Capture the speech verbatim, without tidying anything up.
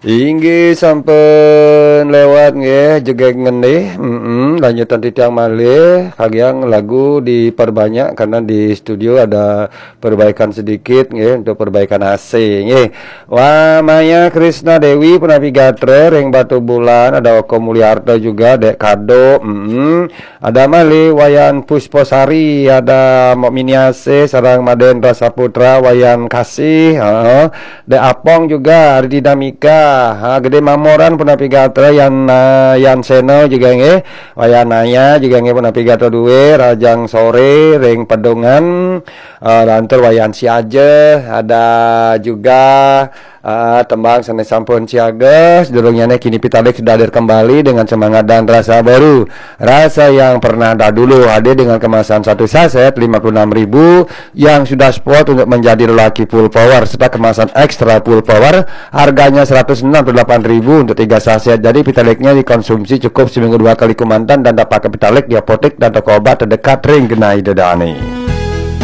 Inggih sampun lewat nggih, jegeg ngendih. Mm-mm, lanjutan titiang malih, kagiang lagu diperbanyak karena di studio ada perbaikan sedikit nggih, untuk perbaikan A C nggih. Wah, Maya Krisna Dewi punapi gatra ring Batubulan, ada Oko Mulyarta juga, Dek Kado. Mm-mm. Ada malih Wayan Pusposari, ada Mok Miniase sareng Madendra Saputra, Wayan Kasih, heeh. Dek Apong juga, ada Dinamika, ha, Gede Mamoran punapi gatra, Yan, eh, Yan Seno juga nggih, Wayan Naya juga nggih punapi gatra duwe, Rajang Sore ring Pedungan, eh, lantur Wayan Siaja, ada juga Ah, tembang sane sampun siaga, sedurungnyané kini Pitalik sudah hadir kembali dengan semangat dan rasa baru. Rasa yang pernah dahulu hadir dengan kemasan satu saset lima puluh enam ribu yang sudah spot untuk menjadi lelaki full power serta kemasan extra full power harganya seratus enam puluh delapan ribu untuk tiga saset. Jadi Pitaliknya dikonsumsi cukup seminggu dua kali kumantan dan dapatkan Pitalik di apotek dan toko obat terdekat ring genah Ida Dane.